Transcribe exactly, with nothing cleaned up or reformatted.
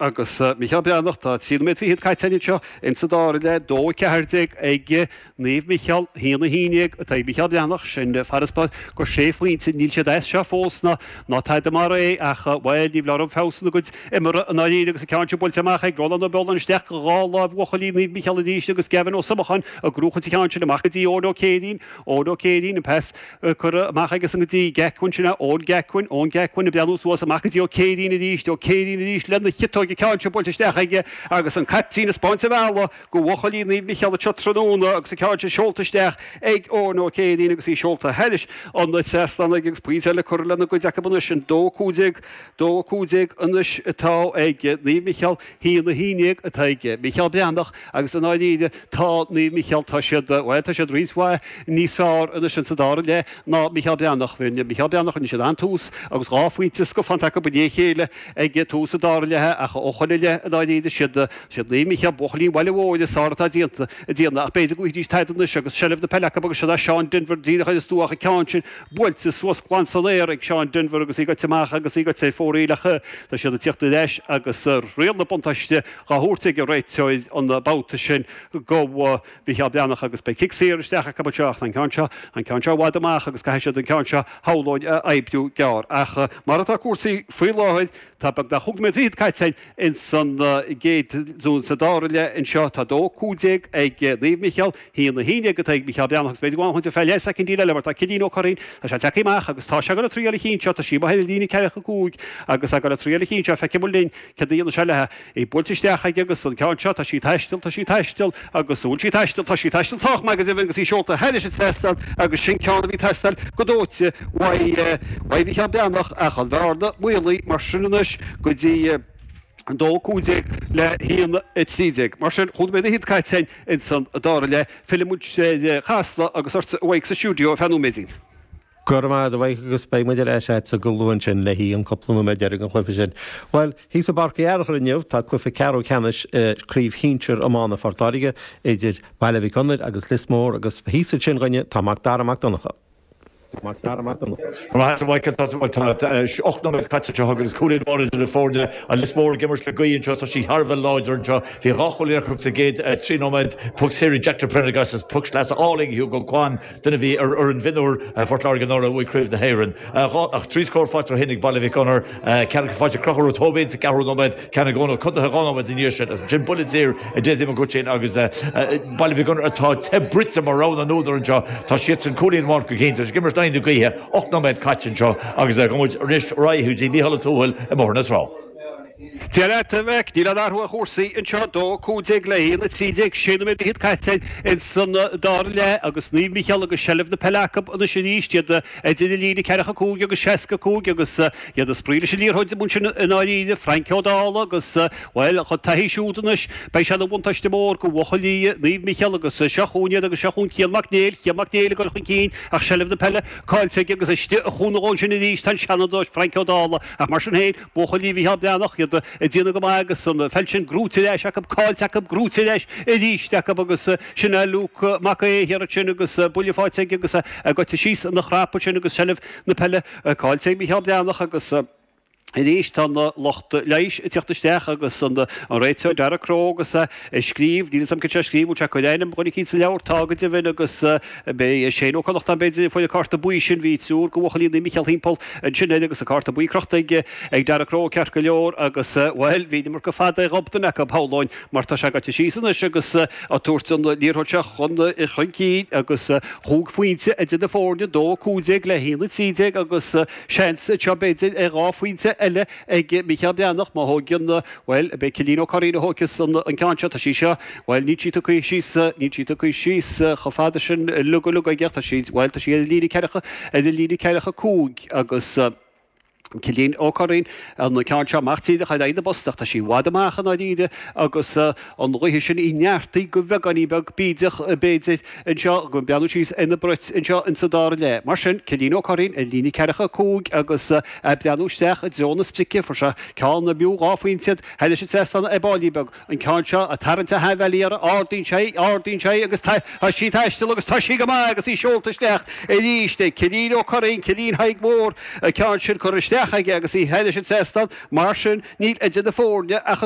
Agus Micheál Breathnach, tá trí nóiméad fichead caite anseo insa dara leath, dó a ceathair déag ag Naomh Micheál, haon a haon déag atá ag Micheál Breathnach, sin farasbarr go sé phointe. Níl siad as seo fós ná ná tada mar é ach, bhuel, ní bhleá orm feabhas ina gcuid imeartha i ndáiríre agus an ceann sin buailte amach ag Rónán Ó Beoláin isteach dhá láimh bhuachaillí Naomh Micheál arís agus Gavin Ó Somacháin ag gnóchaint an cheann sin amach go dtí Eoin Ó Céirín, Eoin Ó Céirín, an pas curtha amach aigesan go dtí Gacuin, sin é Eoin Gacuin, Eoin Gacuin ag breathnú suas amach go dtí Ó Céirín arís, Ó Céirín arís lena chiotóig. An ceann seo buailte isteach aige agus an caiptín ag 'spáint an bhealaigh go bhuachaillí Naomh Micheál anseo tráthnóna agus an ceann sin seolta isteach ag Eoin Ó Céirín agus í seolta thairis an trasnán aige agus pointe eile curtha lena gcuid acu anois, an dó a cúig déag, dó a cúig déag anois atá ag Naomh Micheál, haon a haon déag atá ag Micheál Breathnach agus i ndáiríre tá Naomh Micheál, tá siad, bhuel tá siad roinnt mhaith níos fearr anois insa dara leath ná Micheál Breathnach. Bhí Micheál Breathnach, rinne siad an-tús agus dhá phointe scafánta acu i ndiaidh a chéile ag tús an dara leatha ach ó shoin i leith i ndáiríre siad siad Naomh Micheál, buachaillí an bhaile mhóir is fearr atá déanta ag déanamh ach b'fhéidir go bhfaighidís tada anois agus seilbh na peile acu agus siad é Seán Denvir díreach ar an stua ach an ceann sin buailte suas glan san aer ag Seán Denvir agus í goite amach agus í goite ar fóraoil ach tá siad ag tíocht ar ais agus riail na buntáiste dhá thabhairt ag an réiteoir an babhta sin go Mhicheál Breathnach agus beidh cic saor isteach acu anseo ach tá an ceann seo an ceann seo i bhfad amach agus caithfidh siad an ceann seo shamhlóinn a oibriú gearr ach mar atá cúrsaí faoi láthair tá beagnach chúig nóiméad fichead caite ins an gcéad nó sa dara leath anseo. Tá dó cúig déag ag Naomh Micheál, haon a haon déag atá ag Micheál Breathnach agus b'fhéidir go bhfanfaidh muid ar feadh leath soicindín eile mar tá Cillian Ó Curraoin, tá sé tagtha amach agus tá sé ag dul ag triail an chinn seo, tá sí amuigh ar an líne ceathracha cúig agus ag dul ag triail an chinn seo, feicfidh muid linn céard a dhéanfaidh sé léi. Í buailte isteach aige agus an ceann seo, tá sí ag taisteal, tá sí ag taisteal agus an bhfuil sí ag taisteal, tá sí ag taisteal sách maith go deimhin agus í seolta thairis an trasnán agus sin ceann a bhí ag teastáil go dóite uaidh Mhicheál Breathnach ach an bhearna maolaithe mar sin anois go dtí an dó cúig déag le haon a trí déag. Mar sin, chúig nóiméad fhichead caite againn ins an dara leath. Fillfidh muid ar Chasla agus ortsa a Mhaidhc sa stiúideo ar feadh nóiméidín. Go raibh maith agat a Mhaidhc agus beidh muid ar ais agatsa go luath ansin le haghaidh an cúpla nóiméad deiridh den chluiche sin. Bhuel, thíos i bPáirc Uí Fhearchair inniu tá cluiche ceathrú ceannais Craobh Shinsir Iomána Phort Láirge idir Baile Mhic Gonair agus Lios Mór agus thíos ansin dhúinne tá Mac Dara Mac Donncha. Mac Dara Mac Donncha. Go raibh maith agat a Mhichael, tá bhuel tá ocht nóiméad caite anseo agus cúilín amháin idir na foirne. An Lios Mór ag imirt le gaoth anseo, tá sí thar a bheith láidir anseo. Bhí dhá chúilín acu sa gcéad trí nóiméad, puc saor ag Jack de Prendergast agus puc sleasa álainn Hugo Quan, duine a bhí ar fhoireann mhionúir Phort Láirge anuraidh a bhuaigh Craobh na hÉireann. Dhá ach trí scór faighte ó shin ag Baile Mhic Gonair, ceann acu faighte ag Conchúr Ó Tóibín sa gceathrú nóiméad, ceann ag Eoin Ó Conchubhair dhá nóiméad ina dhiaidh sin agus ansin buille saor ag Dessie Mac Uaitín agus Baile Mhic Gonair atá te bruite mar rogha na n-údar anseo. Tá siadsan cúilín amháin chun cinn, tá siad ag imirt in aghaidh na gaoithe, ocht nóiméad caite anseo agus gabhfaidh muid anois ar aghaidh go dtí Mícheál Ó Tuathail i mBóthar na Trá. Dia leat, a Mhaidhc. Níl aon athrú ar chúrsaí anseo. Dó cúig déag le haon a trí déag, sé nóiméad fichead caite ins an dara leath agus Naomh Micheál agus seilbh na peile acu anois arís. Iad idir an líne ceathracha cúig agus seasca cúig agus iad ag spraoi leis an liathróid ansin i ndáiríre. Frainc Ó Dálaigh agus, bhuel, a chuid taithí siúd anois, beidh sé ina bhuntáiste mór go bhuachaillí Naomh Micheál agus seo chugainn iad agus seo chugainn Cian Mac Néill, Cian Mac Néill ag dul chun cinn ach seilbh na peile caillte aige agus istigh a chúnamh ansin arís tá an Seanadóir Frainc Ó Dálaigh ach mar sin féin, buachaillí Mhicheál Breathnach, iad ag déanamh go maith agus an pheil sin gnóite ar ais acu, caillte acu, gnóite ar ais arís acu agus sin é Luke Mac Aodha thiar ansin agus buille faighte aige agus é goite síos ina chrap ansin agus seilbh na peile caillte ag Micheál Breathnach agus Arís tá an lucht leighis ag teacht isteach agus an réiteoir Darragh Crowe agus é ag scríobh, níl a fhios agam cad sé a scríobh, bhfuil sé ag cur ainm dhuine eicínt sa leabhar, tá go deimhin agus beidh Shane Ó Connachtáin b'fhéidir a fuair an cárta buí sin, bhí triúr de bhuachaillí Naomh Micheál thimpeall ansin air agus an cárta buí crochta ag ag Darragh Crowe ceart go leor agus bhuel bhí an iomarca fada ag gob duine acu shamhlóinn mar tá sé gaibhte síos anois agus ag tabhairt an liathróid seo chun chun cinn agus chúig phointe idir na foirne, dó a cúig déag le haon a trí déag agus Seans anseo b'fhéidir ar dhá phointe eile ag Mícheál Breathnach má thóigeann, bhuel, beidh Cillian Ó Curraoin a thóigfeas an ceann seo, tá sí seo, bhuel, níl sí tugtha síos, níl sí tugtha síos chomh fada sin uilig uilig aige ach tá sí, bhuel, tá sí ar an líne ceathracha, ar an líne ceathracha cúig agus Cillian Ó Curraoin an ceann seo amach díreach ar aghaidh na bpost ach tá sí i bhfad amach i ndáiríre agus an ghaoth sin í neartaithe go bheagáinín beag bídeach b'fhéidir anseo, ag breathnú síos ar na broit anseo insa dara leath. Mar sin, Cillian Ó Curraoin ar líne ceathracha cúig agus é ag breathnú isteach i dtreo na sprice. Fuair sé ceann b'fhiú dhá phointe iad thairis an trasnán ar baillín beag. An ceann seo ag tarraingt a sheanbhealaí uirthi, ardaíonn sé í, ardaíonn sé í agus tá sí ag taisteal agus tá sí go maith agus í seolta isteach arís ag Cillian Ó Curraoin, Cillian Thaidhg Mhór, an ceann sin curtha isteach. isteach aige agus í thairis an trasnán mar sin níl idir na foirne ach